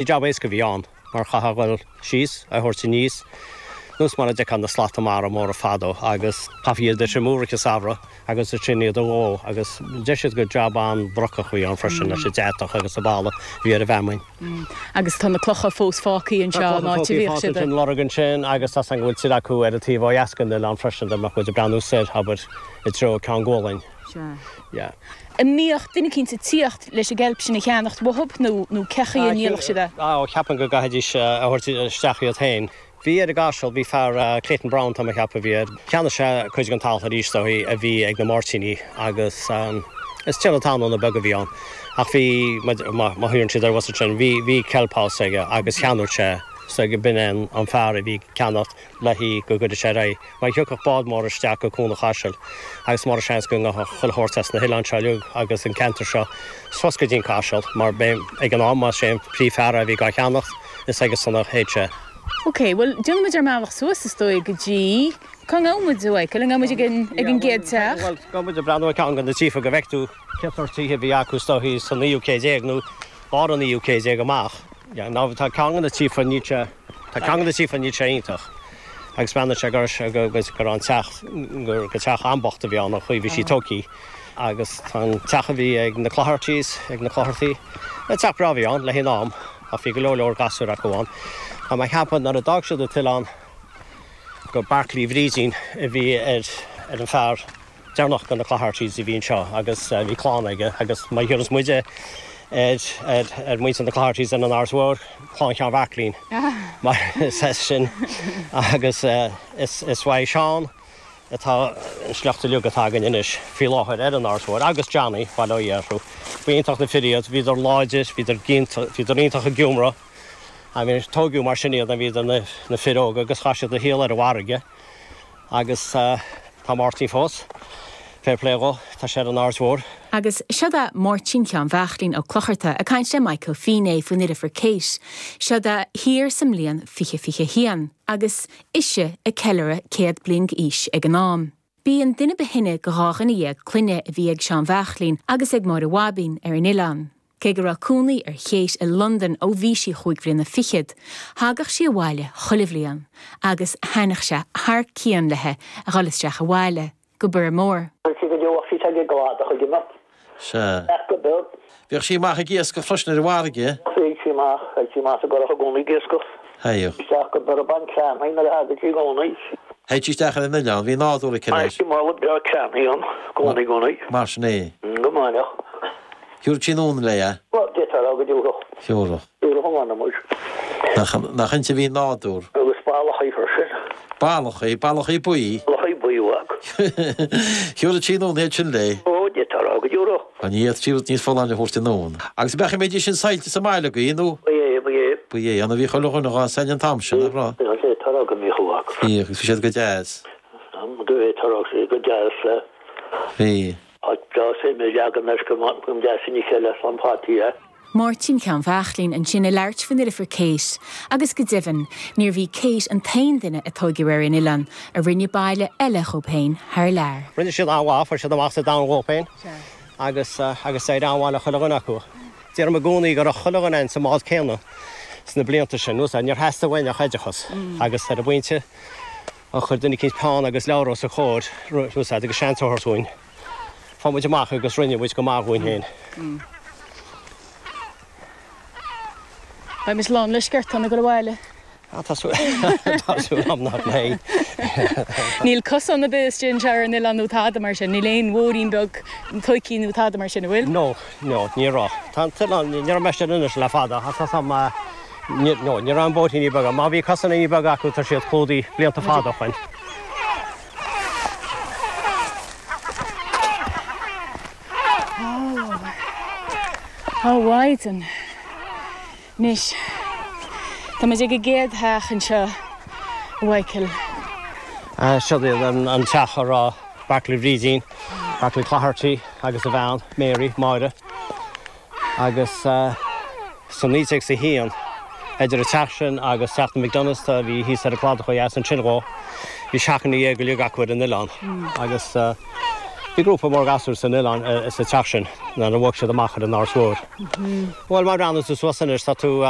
Ní jab éasca a bhí ann mar chaithfeá a dhul síos, a thabhairt aníos, nós mar a d'fheicfeá na slata mara móra fadó agus chaithfí iad a thriomú i rith an samhradh agus ansin iad a dhó agus deir siad gur jab an-bhrocach a bhí ann freisin leis an deatach agus an balla a bhí ar an bhfeamainn. Agus tá na clocha fós fágtha anseo an áit a bhíodh siad. Tá an lorg ansin agus tá 's agam go bhfuil tuilleadh acu ar an taobh ó dheas den oileán freisin dá mbeadh muid ag breathnú soir, abair, i dtreo Ceann Gualainn. Sea. Yeah. An mbíodh duine eicínt ag tíocht leis an gceilp sin a cheannacht uathub nó nó cé chaoi a ndíolfadh siad é? Á, cheapfainn go gcaithfidís a thabhairt isteach iad féin. Bhí ar an gCaiseal, bhí fear, Clayton Brown tá mé a cheapadh a bhí air, cheannaigh sé cuid den talamh arís dóigh a bhí ag na Máirtínigh agus is tiarna talún beag a bhí ann ach bhí, má thiúrann siad ar bhus ansin, bhí, bhí kelp house aige agus cheannaigh sé so b'in é an fear a bhí ag ceannacht le hí go gcuireadh sé ar aghaidh. Mar thiocfadh bád mór isteach go Cuan an Chaisil agus mar seans go ngabhfadh chuile shórt as na hoileáin seo uilig agus an ceantar seo suas go dtí an Caiseal mar b'é ag an am más é an príomhfhear a bhí dhá cheannacht is aige san a théadh sé. Ok, bhuel déanfaidh muid ár mbealach suas is dóigh go dtí, cá ngabhann muid a Mhichael, an ngabhann muid ag an, ag an gcéad teach? Bhuel, gabhfaidh muid ag breathnú ar ceann de na tithe go bhfeicfidh tú cén sórt tithe a bhí acu is dóichí sa naoú céad déag nó lár an naoú céad déag amach. Yeah, now tá ceann de na tithe níl sé, tá ceann de na tithe níl sé iontach. Agus breathnaíonn sé go raibh an teach, gur teach an-bhocht a bhí ann, an chaoi a bhí sí tógthaí. Agus tá an teach a bhí ag na Cloghertys, ag na Clogherty, teach breá a bhí ann le haghaidh an am, ach bhí go leor leor gasúir acu ann. Tá mé ag ceapadh nuair a d'fhág siad an t-oileán gur Barclay Bhrídín a bhí ar an fear, deireanach de na Cloghertys a bhí anseo agus bhí clann aige agus má thiúras muide ar ar muintir na Cloghertys ar an Áras Mhór, Clann Sheáin Bhearclaín mar is as sin agus is is uaidh Seán atá an sliocht uilig atá againn anois faoi láthair ar an Áras Mhór agus Johnny, bail ó Dhia orthu. Ba iontach na fir iad, bhíodar láidir, bhíodar bhíodar iontach ag iomramh. I mean tóigeadh mar sin iad, bhíodar na na fir óga agus chaith siad a shaol ar an bhfarraige. Agus tá Máirtín fós. Fair play dhó, tá sé ar an Aird Mhór. Agus seod é Máirtín Sheáin Bheachlín Ó Clocharta ag caint le Michael Feeney faoina dheirfiúr Kate. Seod é thiar sa mbliain 2021, agus ise ag ceiliúradh 100 bliain d'aois ag an am. B'í an duine ba shine de dhá dhuine dhéag clainne a bhí ag Seán Bheachlín agus ag Máire Bhaibín ar an oileán. Cé go raibh cónaí ar Kate i Londain ó bhí sí chúig bhliana fichead, thagadh sí abhaile chuile bhliain agus thaitneodh sé thar cionn léi a dhul isteach abhaile go Biorra Mór. Chuir sí go deo ach bhí sé ag gcladach ag imeacht. Sea. Ach go beag. Bhíodh sí amach ag iascach freisin ar an bhfarraige. Théadh sí amach, théadh sí amach sa gcurach i gcónaí ag iascach. Théadh. Isteach go Biorra ag baint crann nuair a thagadh sí i gcónaí. Théadh sí isteach ar an oileán, bhí nádúr aici leis. Bhí mála breá crann ann, gcónaí, gcónaí. Mar sin é. Go maith. Thiúrfadh sí anonn léi é. Bhuel, d'fhéadfá a rá go dtiúrfadh. Thiúrfadh. Thiúrfadh a mh'anam muis. Nach, nach inti a bhí nádúr. Agus ballachaí freisin. Ballachaí? Ballachaí buí? Ballachaí buí uaidh. Thiúrfadh sí anonn iad sin léi. Ó, d'fhéadfá a rá go dtiúrfadh. Á, ní fhéadfadh sí rud níos folláine a thabhairt anonn. Agus an mbeidís sin saillte sa mbaile agaibh, nó? Ba é, ba é. Ba é, an bhí chuile dhuine dhá sail an t-am sin, nach raibh? D'fhéadfá a rá go mbíodh uaidh. Bhíodh, agus bhí siad go deas. D'fhéadfá a rá go go deas le. Bhí. Áit breá suim a leagan air go deas ina chéile slán fataí é. Máirtín Sheáin Bheachlín ansin ag labhairt faoina dheirfiúr Kate, agus go deimhin, níorbh í Kate an t-aon duine a tóigeadh ar an oileán a rinne baile eile dhóibh féin thar lear. Rinne siad an-mhaith, fuair siad amach sa domhan dhóibh féin agus agus d'éirigh an-mhaith le chuile dhuine acu. Deirim i gcónaí go raibh chuile dhuine againn sa mbád céanna sna blianta sin, níor theastaigh uainn ach oideachas agus ar an bpointe a chuir duine eicínt peann agus leabhar os a chomhair, úsáid agus seans a thabhairt dhúinn. Fuair muid amach agus rinne muid go maith dhúinn féin. Beidh muid lán le sciortán ag dul abhaile. Ah, tá súil tá súil agam nach mbeidh. Níl cosán ar bith istigh anseo ar an oileán nó tada mar sin, níl aon bhóithrín beag tóigthí nó tada mar sin, an bhfuil? No, no, ní raibh. Tá an t-oileán, ní raibh mé istigh anois le fada, ach tá sam, ní, no, ní raibh aon bhóithríní beaga. Má bhí cosáiníní beaga acu tá siad clúdaithe blianta fada ó shoin. Ó, a Mhaighdean. Anois, tá muid ag an gcéad theach anseo, a Mhichael. Seo iad an teach a raibh Barclay Bhrídín, Barclay Clogherty agus a bhean, Mary, Máire. Agus sa 1901, idir an teach sin agus teach na McDonaghs a bhí thíos ar an gcladach ó dheas ansin dhó, bhí seachaine dhéag uilig acu ar an oileán. Agus bhí grúpa mór gasúr san oileán, sa teach sin, nuair a bhog siad amach ar an Áras Mhór. Bhuel, má bhreathnaíonn tú suas anois, tá tú.